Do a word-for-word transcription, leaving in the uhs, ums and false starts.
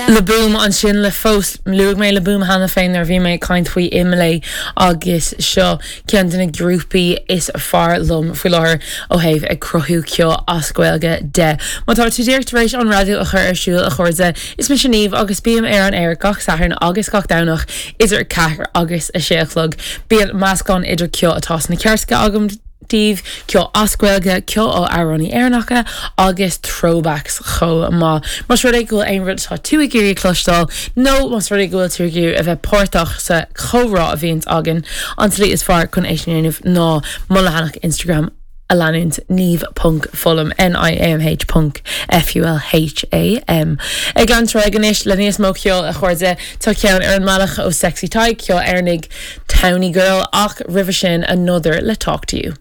Le Boom ansin le fós luaigh mé Le Boom cheana féin nuair a bhí mé ag caint faoi Imlé agus seo ceann de na grúpaí is fearr liom faoi láthair ó thaobh ag cruthú ceol as Gaeilge de. Má tá tú díreach tar éis an raidió a chur ar siúl a chairde is mise Niamh agus bím ar an aer gach Satharn agus gach Domhnach idir ceathair agus a sé a chlog. Bíonn meascán idir ceol atá sna ceirteacha agam daoibh ceol as Gaeilge ceol ó amhránaithe Éireannacha agus throwbacks chomh maith. Más rud é go bhfuil aon rud atá tú ag iarraidh cloisteáil nó más rud é go bhfuil tú ag iarraidh a bheith páirteach sa chomhrá a bhíonn againn an tslí is fearr chun é sin a dhéanamh ná mo leathanach Instagram a leanúint niamh.fulham N-I-A-M-H ponc F-U-L-H-A-M. Ag leanúint anois le níos mó ceol a chairde tá ceann ar an mbealach ó Sexy Tadhg ceol Éireannach Towny Girl ach roimhe sin another le talk to you.